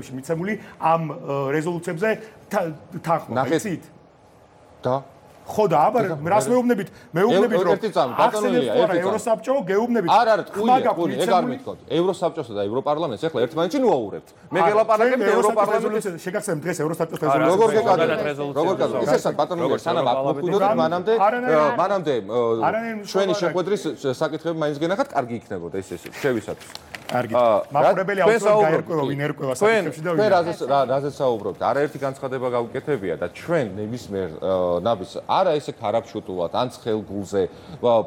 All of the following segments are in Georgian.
მიცემული ამ რეზოლუციებზე თანხმობა იცით? და ხო და აბა რას მეუბნებით რომ ბატონელია ევროსაბჭო გეუბნებით არ თქვი ეგ არ მithქოთ ევროსაბჭოსა და ევროპარლამენტს ახლა ერთმანეთში ნუაურებთ მე გელაპარაკებთ ევროპარლამენტის შეგახსენებთ დღეს ევროსაბჭოს როგორ გეკადრებთ ისე ბატონელია სანამ აქ მოკვიდოთ მანამდე ჩვენი შეხვედრის საკითხები მაინც გენახათ კარგი იქნებოდა ეს შევისათვის კარგი მაყურებელი აუცილებლად გაერკვევა ვინ ერკვევა საკითხებში და ვინ რაზეც საუბრობთ არაერთი განცხადება გავუკეთებია და ჩვენ ნებისმიერ ნაბის არა ესე ქარაფშუტულად ან ცხელგულზე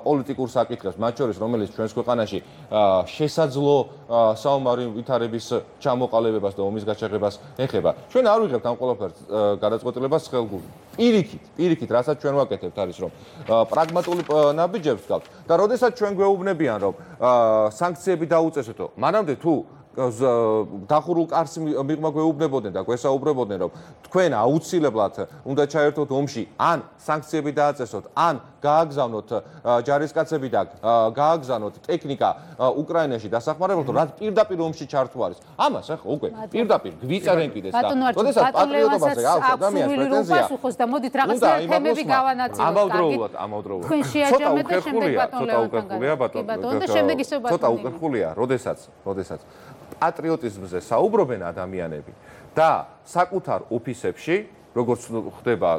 პოლიტიკურ საკითხებს მათ შორის რომელიც ჩვენს ქვეყანაში შესაძლო საომარი ვითარების ჩამოყალიბებას და ომის გაჩაღებას ეხება ჩვენ არ ვიღებთ ამ ყველაფერს გადაწყვეტილებას ცხელგულზე პირიქით რასაც ჩვენ ვაკეთებთ არის რომ პრაგმატული ნაბიჯებს გავთ და როდესაც ჩვენ გვეუბნებიან რომ სანქციები დაუწესოთო მანამდე თუ დახურულ კარს მიღმა გვეუბნებოდნენ და გვესაუბრებოდნენ რომ თქვენ აუცილებლად უნდა ჩაერთოთ ომში ან სანქციები დააწესოთ ან გააგზავნოთ ჯარისკაცები და გააგზავნოთ ტექნიკა უკრაინაში დასახმარებლად რაც პირდაპირ ომში ჩართვა არის ამას ახლა უკვე პირდაპირ გვიწერენ კიდეც და როდესაც პატრიოტობაზე აქვს ადამიანს პრეტენზია და მოდით რაღაც თემები გავანაწილოთ ცოტა უკერხულია როდესაც პატრიოტიზმზე საუბრობენ ადამიანები და საკუთარ ოფისებში, როგორც ხდება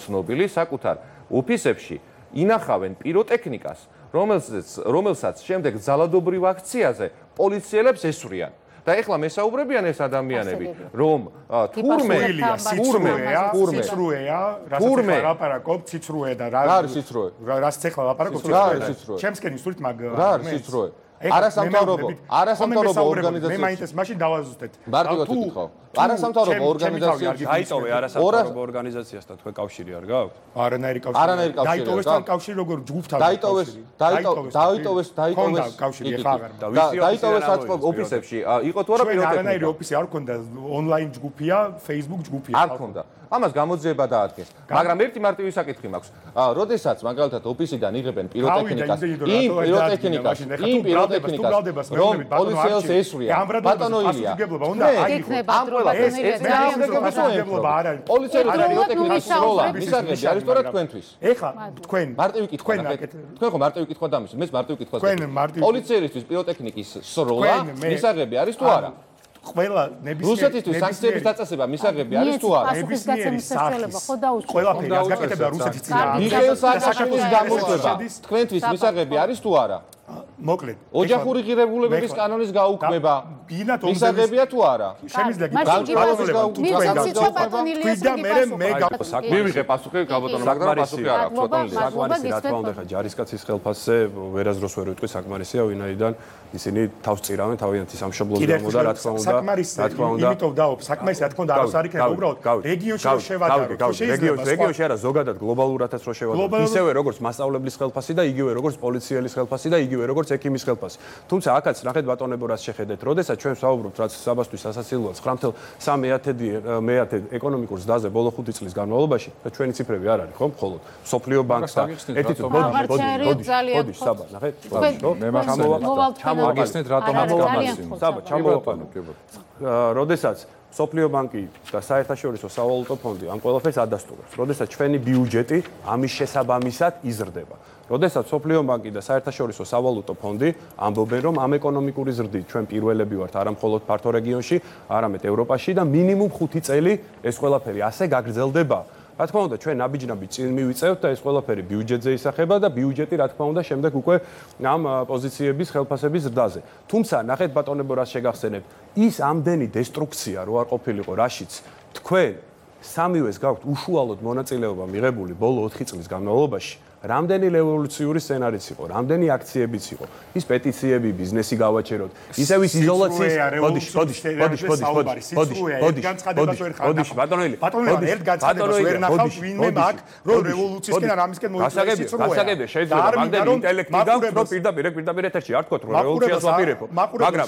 ცნობილი, საკუთარ ოფისებში ინახავენ პიროტექნიკას, რომელსაც შემდეგ ძალადობრივ აქციაზე პოლიციელებს ესვრიან. და ეხლა მესაუბრებიან ეს ადამიანები, რომ თურმეა, ციცრუეა და რა არის ციცრუე? რას ეხლა ლაპარაკობ ციცრუე? ჩემსკენი სულით მაგ რა არის ციცრუე? არასამთავრობო ორგანიზაცია. მე მაინც მაშინ დავაზუსტეთ. მარტივად ვიკითხავ. არასამთავრობო ორგანიზაციებში დაიტოვე არასამთავრობო ორგანიზაციასთან თქვენ კავშირი არ გაქვთ? არანაირი კავშირი. დაიტოვეს თან კავშირი როგორ ჯგუფთან. დაიტოვეს კავშირი ხა აღარ. დაიტოვეს საწყობ ოფისებში. იყო თუ არა პიროტექნიკა? არანაირი ოფისი არ ქონდა, ონლაინ ჯგუფია, Facebook ჯგუფია. არ ქონდა. ამას გამოძიება დაადგეს. მაგრამ ერთი მარტივი საკითხი მაქვს. როდესაც მაგალითად ოფისიდან იღებენ პიროტექნიკას, იმ პიროტექნიკას, რომ პოლიციელს ესვრიან. ბატონო ილია. ამ ყველაფერს პოლიციელი პიროტექნიკის როლა მისაღები არის სწორედ თქვენთვის. ეხლა თქვენ მარტივი კითხვა თქვენ ხო მარტივი კითხვა დამისვით მეც მარტივი კითხვა პოლიციელისთვის პიროტექნიკის როლა მისაღები არის თუ არა ყველა რუსეთისთვის სანქციების დაწესება მისაღები არის თუ არა ნებისმიერი სახის ყველაფერი რაც გაკეთებდა რუსეთის წინააღმდეგ მიხეილ სააკაშვილის გამოშვება თქვენთვის მისაღები არის თუ არა მოკლედ ოჯახური ღირებულებების კანონის გაუქმება მისაღებია თუ არა შემიძლია მივიღე პასუხი გაბატონო მაგრამ პასუხი არ აქვს საკმარისი რა თქმა უნდა ხა ჯარისკაცის ხელფასზე ვერასდროს ვერ ვიტყვი საკმარისია ვინაიდან ისინი თავს წირავენ თავიანთი სამშობლოს გამო და რა თქმა უნდა იმიტომ დაობ საკმარისი რა თქმა უნდა არც არ იქნება უბრალოდ რეგიონში რო შევადაროთ რეგიონში არა ზოგადად გლობალურადაც რო შევადაროთ ისევე როგორც მასწავლებლის ხელფასი და იგივე როგორც პოლიციელის ხელფასი და იგივე როგორც ექიმის ხელფასი. თუმცა აქაც ნახეთ ბატონებო რას შეხედეთ. როდესაც ჩვენ ვსაუბრობთ რაც საბასთვის სასაცილოა 9.3 ეკონომიკურ ზრდაზე ბოლო 5 წლის განმავლობაში და ჩვენი ციფრები არ არის, ხო? მხოლოდ სოფლიო ბანკს და ერთი ბოდი საბა, ნახეთ. მე ჩამოვაგესნეთ რატომ ამას საბა, ჩამოვაყენოთ. როდესაც სოფლიო ბანკი და საერთაშორისო სავალუტო ფონდი ამ ყველაფერს ადასტურებს. როდესაც ჩვენი ბიუჯეტი ამის შესაბამისად იზრდება. როდესაც სოფლიო ბანკი და საერთაშორისო სავალუტო ფონდი ამბობენ, რომ ამ ეკონომიკური ზრდით ჩვენ პირველები ვართ არა მხოლოდ ფართო რეგიონში, არამედ ევროპაში და მინიმუმ 5 წელი ეს ყველაფერი ასე გაგრძელდება. რა თქმა უნდა, ჩვენ ნაბიჯ-ნაბიჯ წინ მივიწევთ და ეს ყველაფერი ბიუჯეტზე ისახება და ბიუჯეტი რა თქმა უნდა შემდეგ უკვე ამ პოზიციების ხელფასების ზრდაზე. თუმცა, ნახეთ ბატონებო, რას შეგახსენებთ, ის ამდენი დესტრუქცია რო არ ყოფილიყო რაშიც თქვენ სამივეს გაქვთ უშუალოდ მონაწილეობა მიღებული ბოლო 4 წლის განმავლობაში. რამდენი რევოლუციური სცენარიც იყო, რამდენი აქციებიც იყო, ის პეტიციები, ბიზნესი გავაჩეროთ, ისევ ის იზოლაციის ბატონელი, ერთ განცხადებას ვერ ნახავ ვინმე მაგ, რომ რევოლუციისკენ არ ამისკენ მოიწვია სიცრუე. გასაგებია, შეიძლება რამდენი ინტელექტი გაქვს, რომ პირდაპირ ეთერში არ თქვათ, რომ რევოლუციას ვაპირებო. მაგრამ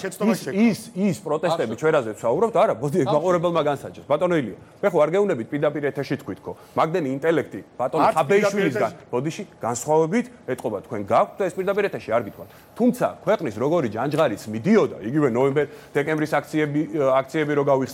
ის პროტესტები ჩვენ რაზეც ვსაუბრობთ, არა, მოდი მაყურებელმა განსაჯეს. ბატონელია, მე ხო არ გეუბნებით პირდაპირ ეთერში თქვით ხო. მაგდენი ინტელექტი ბატონი ხაბეიშვილისგან, ბოდიში განსხვავებით ეთყობა თქვენ გაქვთ და ეს პირდაპირ ეთერში არ გითხოვთ. თუმცა ქვეყნის როგორი ჯანჯღარიც მიდიოდა, იგივე ნოემბერ-დეკემბრის აქციები რო გავიხსენებთ